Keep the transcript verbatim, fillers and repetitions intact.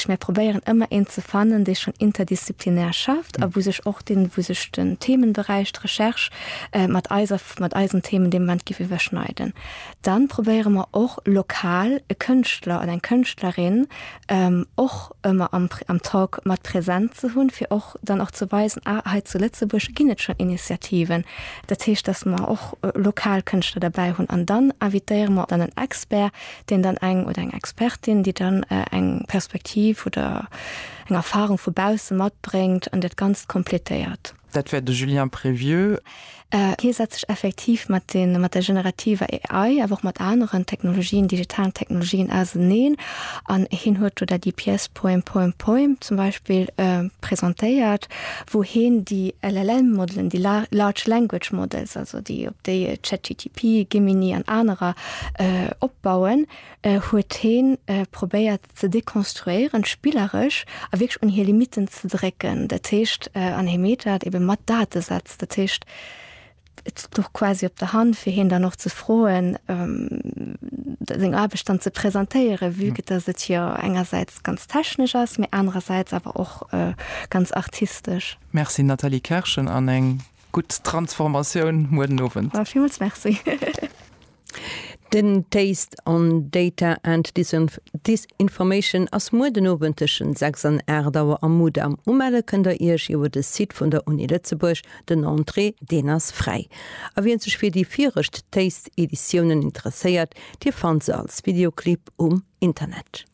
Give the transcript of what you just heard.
heescht, mir probéieren ëmmer een ze fannen, dee schonn interdisziplinär schafft a wou sech och den, wou sech den Themenberäich, d'Recherche mat eiser, mat eisen Themen dee Moment géif iwwerschneiden. Dann probéiere mer och lokal e Kënschtler oder eng Kënschtlerin och ëmmer am, am Talk mat present ze hunn, fir och dann och ze weisen, ah, hei zu Lëtzebuerg ginn et schonn Initiativen. Dat heescht, dass mer och lokal Kënschtler derbäi hunn. An dann invitéiere mer dann en Expert, deen dann eng oder eng Expertin, déi dann eng Perspektiv oder eng Erfahrung vu bausse matbréngt an dat Ganzt kompletéiert. Dat wär de Julien Prévieux. Hie setzt sech effektiv mat den, mat der generativer A I, awer och mat aneren Technologien, digitalen Technologien auseneen an hien huet do dat déi Pièce Poem, Poem, Poem zum Beispill presentéiert, wou hien déi L L M-Modelen, déi Large Language Models, also déi op déi ChatGTP, Gemini an anerer opbauen, huet hien probéiert ze dekonstruéieren, spilleresch, a wierklech un hir Limitten ze drécken. Dat heescht, an hie mécht dat ebe mat Datesätz. Dat heescht, et louch quasi op der Hand fir hien dann och ze froen, seng Aarbecht dann ze presentéieren, vue que dass et jo engersäits ganz technesch ass, mee anerersäits awer och ganz artistesch. Merci Nathalie Kerschen an eng gutt Transformatioun muer den Owend. Villmools merci. Den Taste on Data and Disinformation ass muer den Owend tëschent sechs an aacht Auer am Mudam. Umelle kënnt der Iech iwwer de Site vun der Uni Lëtzebuerg. Den Entrée, deen ass fräi. A wien sech fir déi viregt Taste-Editiounen interesséiert, dir fannt se als Videoclip um Internet.